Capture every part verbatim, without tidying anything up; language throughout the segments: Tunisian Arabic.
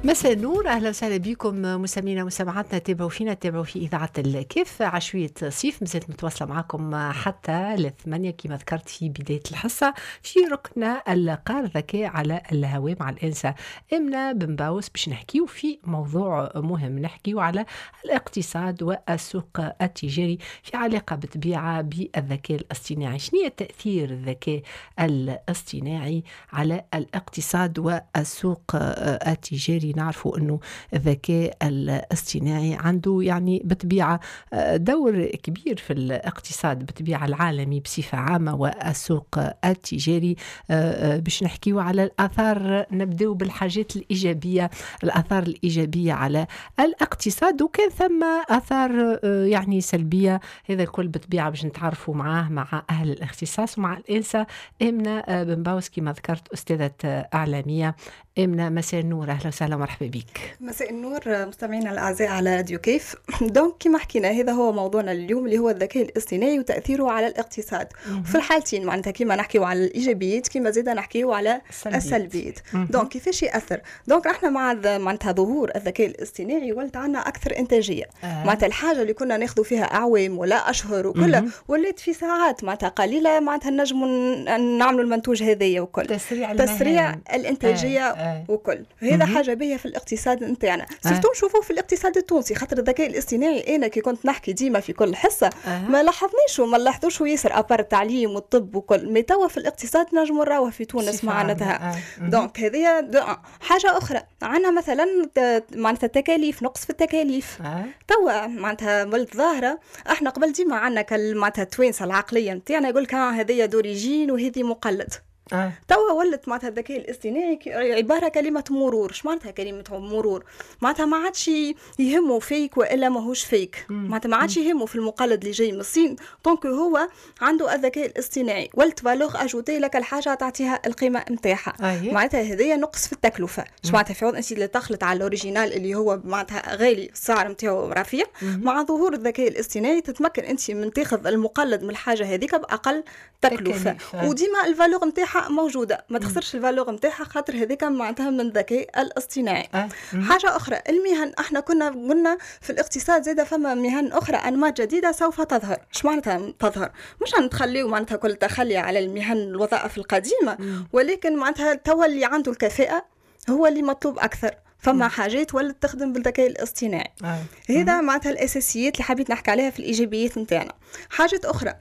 مساء النور، اهلا وسهلا بكم مستمعينا ومستمعاتنا، تابعوا فينا، تابعوا في اذاعة الكاف. عشويه صيف مازالت متواصلة معكم حتى للثمانيه كما ذكرت في بداية الحصه، في ركن القار ذكاء على الهواء مع الانسة امنه بن باوس، باش نحكيو في موضوع مهم، نحكيو على الاقتصاد والسوق التجاري في علاقة بالطبيعة بالذكاء الاصطناعي. شنو هي تاثير الذكاء الاصطناعي على الاقتصاد والسوق التجاري؟ نعرفوا أنه الذكاء الاصطناعي عنده يعني بطبيعة دور كبير في الاقتصاد بطبيعة العالمي بصفة عامة والسوق التجاري. باش نحكيو على الآثار، نبدأ بالحاجات الإيجابية، الآثار الإيجابية على الاقتصاد، وكان ثم آثار يعني سلبية. هذا الكل بطبيعة باش نتعرفوا معاه مع أهل الاختصاص ومع الإنسة آمنة بن باوس كما ذكرت، أستاذة إعلامية. آمنة، مساء النور، أهلا وسهلا، مرحبا بك. مساء النور مستمعينا الاعزاء على راديو كيف. donc كما حكينا، هذا هو موضوعنا اليوم اللي هو الذكاء الاصطناعي وتاثيره على الاقتصاد في الحالتين، معناتها كما نحكيو على الايجابيات كما زيدا نحكيو على السلبيات. donc كيفاش ياثر؟ donc احنا مع معناتها ظهور الذكاء الاصطناعي ولت عندنا اكثر انتاجيه آه. معناتها الحاجة اللي كنا ناخذ فيها اعوام ولا اشهر وكلها ولات في ساعات معناتها قليله، معناتها نجموا نعملوا المنتوج هذايا وكل. تسريع تسريع الانتاجية آه. آه. وكل هذا حاجة باهيه في الاقتصاد نتاعنا، surtout نشوفوه في الاقتصاد التونسي، خاطر الذكاء الاصطناعي انا كي كنت نحكي ديما في كل حصة أه. ما لاحظناش وما نلاحظوش ياسر à part التعليم والطب وكل، mais توا في الاقتصاد نجموا نراوه في تونس معناتها أه. donc هذه حاجة اخرى. عندنا مثلا معناتها التكاليف، نقص في التكاليف أه. توا معناتها ولت ظاهره. احنا قبل ديما عندنا معناتها التوانسة العقلية نتاعنا يقول لك هذه d'origine وهذه مقلد آه. توا ولت معناتها الذكاء الاصطناعي عبارة كلمة مرور. اش معناتها كلمة مرور؟ معناتها ما عادش يهمه fake والا ماهوش fake، معناتها ما عادش يهمه في المقلد اللي جاي من الصين tant que هو عنده الذكاء الاصطناعي ولت valeur ajoutée لك الحاجة تعطيها القيمة نتاعها. أيه. معناتها هذيا نقص في التكلفه. اش معناتها؟ في عوض انت اللي تخلط على l'original اللي هو معناتها غالي، السعر نتاعو رفيع، مع ظهور الذكاء الاصطناعي تتمكن انت من تاخذ المقلد من الحاجة هذيك باقل تكلفه، وديما ال valeur نتاعها موجوده، ما تخسرش ال valeur نتاعها خاطر هذيك معناتها من الذكاء الاصطناعي أه. حاجة اخرى، المهن. احنا كنا قلنا في الاقتصاد زاده فما مهن اخرى، انماط جديدة سوف تظهر. اش معناتها تظهر؟ مش نتخليو معناتها كل تخلي على المهن الوظائف القديمه، ولكن معناتها توا اللي عنده الكفاءة هو اللي مطلوب اكثر. فما حاجات ولت تخدم بالذكاء الاصطناعي آه. هذا معناتها الاساسيات اللي حبيت نحكي عليها في الايجابيات نتاعنا. حاجات اخرى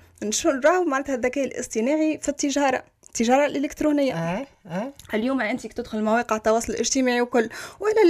نراو معناتها الذكاء الاصطناعي في التجاره، التجارة الالكترونيه أه. أه. اليوم انت تدخل مواقع التواصل الاجتماعي وكل ولا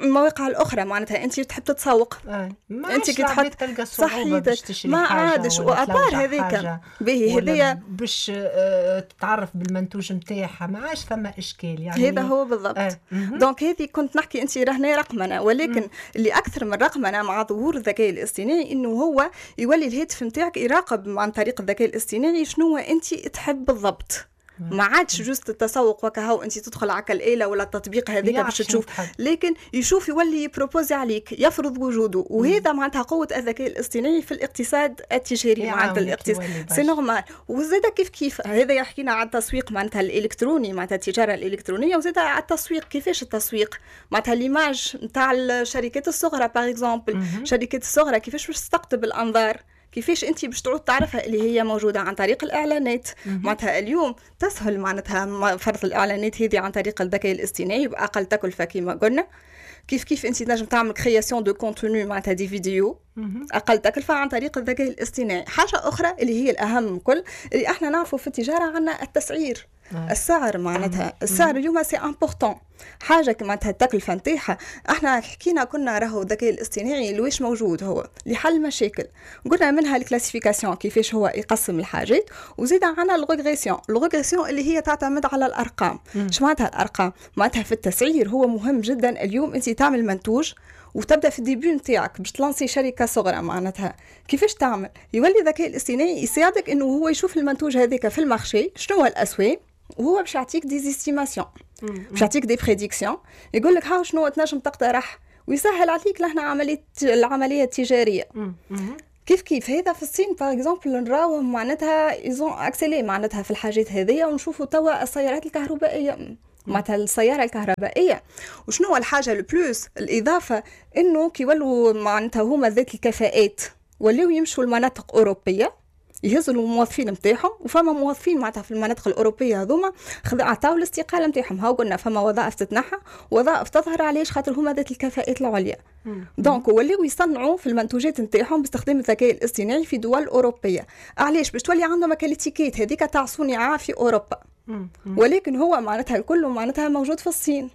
المواقع الاخرى، معناتها انت تحب تتسوق أه. انت كي تحط تلقى صعوبة باش تشري. ما عادش و à part هذيك. باهي هذيا باش آه، تتعرف بالمنتوج نتاعها، ما عادش ثم اشكال يعني. هذا هو بالضبط أه. donc هذه كنت نحكي انت رهنا رقمنه، ولكن مم. اللي اكثر من رقمنه مع ظهور الذكاء الاصطناعي انه هو يولي الهاتف نتاعك يراقب عن طريق الذكاء الاصطناعي شنو انت تحب بالضبط. ما عادش juste التسوق وكهو، انت تدخل على الآلة ولا التطبيق هذاك باش تشوف، لكن يشوف يولي ي proposer عليك، يفرض وجوده. وهذا معناتها قوة الذكاء الاصطناعي في الاقتصاد التجاري، معناتها الاقتصاد c'est normal. وزاد كيف كيف هذا يحكينا على التسويق معناتها الالكتروني، معناتها التجارة الالكترونيه، وزاد على التسويق. كيفاش التسويق؟ معناتها l'image نتاع الشركات الصغرى par exemple، الشركات الصغرى كيفاش باش تستقطب الانظار؟ كيفاش انت باش تعود تعرفها اللي هي موجوده؟ عن طريق الاعلانات. معناتها اليوم تسهل معناتها فرض الاعلانات هذه عن طريق الذكاء الاصطناعي باقل تكلفة كما قلنا. كيف كيف انت تنجم تعمل création de contenu، معناتها des vidéos، اقل تكلفة عن طريق الذكاء الاصطناعي. حاجة اخرى اللي هي الاهم كل، اللي احنا نعرفوا في التجارة عندنا التسعير آه. السعر، معناتها السعر اليوم c'est important حاجة معناتها التكلفة نتاعها. احنا حكينا كنا راهو الذكاء الاصطناعي لويش موجود؟ هو لحل مشاكل، قلنا منها ال classification، كيفاش هو يقسم الحاجات، وزيد عندنا ال régression. ال régression اللي هي تعتمد على الارقام. اش معناتها الارقام؟ معناتها في التسعير هو مهم جدا. اليوم انت تعمل منتوج وتبدا في ال début نتاعك باش ت lancer شركة صغرى، معناتها كيفاش تعمل؟ يولي الذكاء الاصطناعي يساعدك انه هو يشوف المنتوج هذاك في ال marché شنو هو الاسواق، وهو باش يعطيك des estimations، باش يعطيك des prédictions، يقول لك هاو شنو تنجم تقترح، ويسهل عليك لهنا عمليه العملية التجاريه. كيف كيف هذا في الصين par exemple نراوهم معناتها ils ont accéléré معناتها في الحاجات هذيا، ونشوفوا توا السيارات الكهربائية معناتها السيارة الكهربائيه. وشنو هو الحاجة ال plus، الاضافه، انه كي يولوا معناتها هما ذات الكفاءات ولاو يمشوا لمناطق اوروبية يهزوا الموظفين نتاعهم، وفما موظفين معناتها في المناطق الاوروبية هذوما عطاو الاستقالة نتاعهم. هاو قلنا فما وظائف تتنحى، وظائف تظهر. علاش؟ خاطر هما ذات الكفاءات العليا. donc ولاو يصنعوا في المنتوجات نتاعهم باستخدام الذكاء الاصطناعي في دول اوروبيه. علاش؟ باش تولي عندهم l'étiquette هذيك تاع صنع في اوروبا، ولكن هو معناتها الكل معناتها موجود في الصين.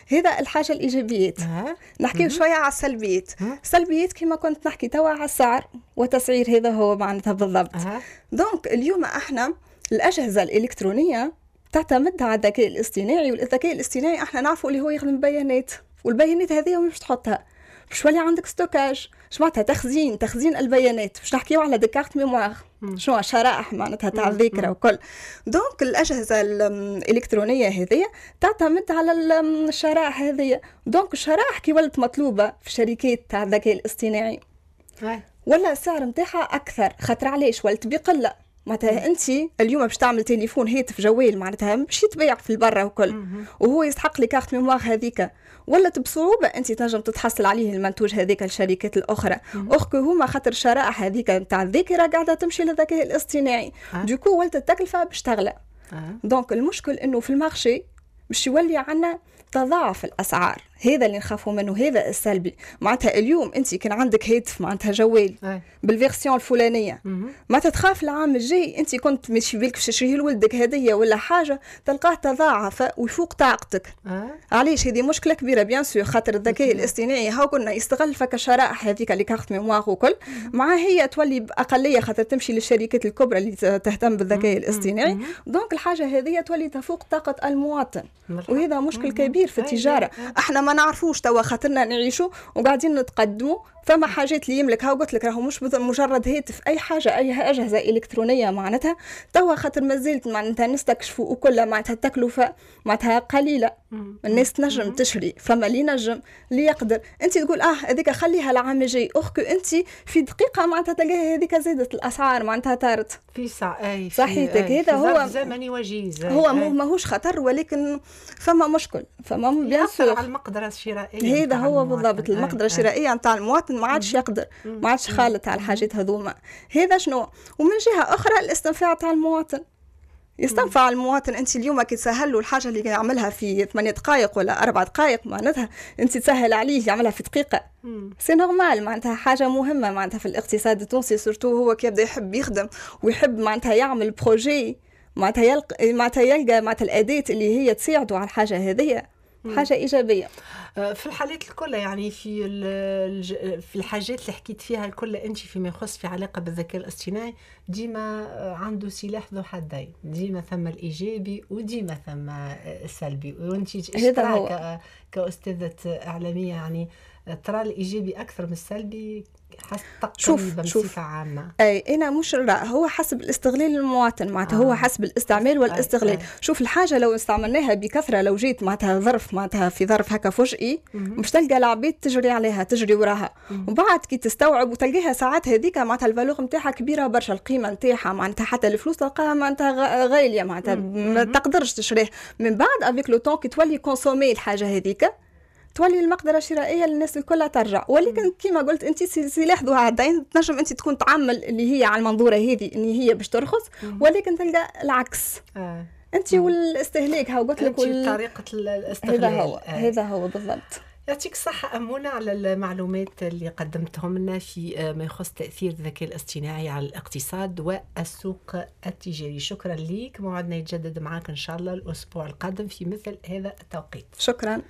هذا الحاجة الايجابيات. أه. نحكي شوية على السلبيات. السلبيات كما كنت نحكي توا على السعر وتسعير، هذا هو معناتها بالضبط. أه. donc اليوم احنا الاجهزة الالكترونية تعتمد على الذكاء الاصطناعي، والذكاء الاصطناعي احنا نعرفوا اللي هو يخدم بيانات، والبيانات هذه وين باش تحطها؟ باش يولي عندك stockage، اش معناتها تخزين، تخزين البيانات، باش نحكيو على des cartes mémoire، شنو شرائح معناتها تاع الذاكرة وكل. donc الاجهزة الالكترونية هذه تعتمد على الشرائح هذه. donc الشرائح كي ولت مطلوبه في الشركات تاع الذكاء الاصطناعي ولا السعر نتاعها اكثر، خاطر علاش؟ ولت بقله. معناتها انت اليوم باش تعمل تليفون، هاتف جوال، معناتها باش يتباع في البرة وكل، وهو يستحق les cartes mémoire هذيك، ولات بصعوبة انت تنجم تتحصل عليه المنتوج هذيك الشركات الاخرى. or que هما خاطر الشرائح هذيك نتاع الذاكرة قاعدة تمشي للذكاء الاصطناعي. أه. du coup ولات التكلفة باش تغلى. أه. donc المشكل انه في ال marché باش يولي عندنا تضاعف الاسعار، هذا اللي نخافوا منه، هذا السلبي. معناتها اليوم انت كان عندك هاتف معناتها جوال بال version الفلانيه، معناتها تخاف العام الجاي انت كنت ماشي بالك باش تشريه لولدك هديه ولا حاجه، تلقاه تضاعف ويفوق طاقتك. أه. علاش؟ هذه مشكلة كبيرة bien sûr، خاطر الذكاء الاصطناعي هاو قلنا يستغل فك الشرائح هذيك les cartes mémoire وكل، مع هي تولي باقليه خاطر تمشي للشركات الكبرى اللي تهتم بالذكاء الاصطناعي. donc الحاجة هذه تولي تفوق طاقة المواطن، وهذا مشكل كبير في التجاره. احنا ما نعرفوش توا خاطرنا نعيشوا وقاعدين نتقدموا. فما حاجات اللي يملك، هاو قلت لك راهو مش مجرد هاتف، اي حاجه، اي اجهزة الكترونية معناتها توا خاطر مازالت معناتها نستكشفوا وكل، معناتها التكلفة معناتها قليله، الناس تنجم تشري، فما اللي ينجم اللي يقدر. انت تقول اه هذيك خليها العام الجاي، or que انت في دقيقة معناتها تلقاها هذيك زادت الاسعار معناتها طارت. في ساعة اي. صحيتك. هذا هو زمني وجيز. هو ماهوش خطر ولكن فما مشكل، فما bien sûr على المقدرة الشرائيه. هذا هو بالضبط، المقدرة الشرائية نتاع المواطن ما عادش يقدر، ما عادش خالط على الحاجات هذوما. هذا شنو. ومن جهة اخرى الاستنفاع تاع المواطن، يستنفع المواطن. انت اليوم كي تسهل له الحاجة اللي يعملها في ثمانية دقائق ولا اربع دقائق، معناتها انت تسهل عليه يعملها في دقيقه، c'est normal. معناتها حاجة مهمة معناتها في الاقتصاد التونسي، surtout هو كي يبدا يحب يخدم ويحب معناتها يعمل projet، معناتها يلقى معناتها يلقى معناتها الاداة اللي هي تساعده على الحاجة هذه، حاجة ايجابيه. آه، في الحالات الكل، يعني في في الحاجات اللي حكيت فيها الكل انت فيما يخص في علاقة بالذكاء الاصطناعي، ديما عنده سلاح ذو حدين، ديما ثم الايجابي وديما ثم السلبي. وانت هذا هو كاستاذه اعلاميه، يعني ترى الايجابي اكثر من السلبي حسب تقريبا بصفة عامه؟ اي، انا مش لا، هو حسب الاستغلال المواطن معناتها. آه. هو حسب الاستعمال والاستغلال. أي. شوف الحاجة لو استعملناها بكثره، لو جيت معناتها ظرف معناتها في ظرف هكا فجئي، مش تلقى العباد تجري عليها، تجري وراها، وبعد كي تستوعب وتلقاها ساعات هذيك معناتها ال valeur نتاعها كبيرة برشا، القيمة نتاعها معناتها حتى الفلوس تلقاها معناتها غاليه، معناتها ما تقدرش تشريه. من بعد avec le temps كي تولي consommer الحاجة هذيك، تولي المقدرة الشرائية للناس الكل ترجع. ولكن كما قلت انت سلاح ذو حدين، تنجم انت تكون تعمل اللي هي على المنظوره هذه ان هي باش ترخص، ولكن تلقى العكس. آه. انت والاستهلاك، ها قلت لك. وال... طريقه الاستغلال. هذا هو. آه. هذا هو بالضبط. يعطيك الصحة أمونة على المعلومات اللي قدمتهم لنا في ما يخص تأثير الذكاء الاصطناعي على الاقتصاد والسوق التجاري. شكرا لك، موعدنا يتجدد معك إن شاء الله الأسبوع القادم في مثل هذا التوقيت. شكرا.